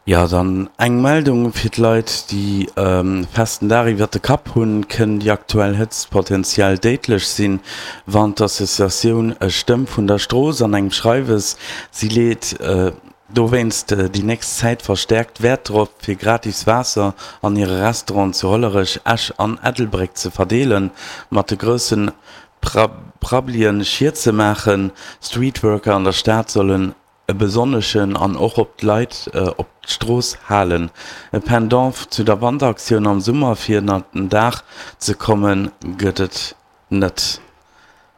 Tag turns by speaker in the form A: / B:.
A: Jo, dann eng Meldung fir d'Leit, déi e festen Daach iwwert de Kapp hunn, Kënn déi aktuell Hëtzt potenziell déidlech sinn, warnt d'Associatioun Stëmm vun der Strooss an engem Schreiwes. Si leet dowéinst déi nächst Zäit verstäerkt Wäert drop, fir gratis Waasser an hire Restauranten zu Hollerech, Esch an Ettelbréck ze verdeelen. Mat de grousse Prabbelien Schied ze maachen. Streetworker an der Stad sollen e besonneschen an och op d'Leit op d'Strooss halen. E Pendant zu der Wanderaktioun am Summer fir ënnert den Daach ze kommen, gëtt et net.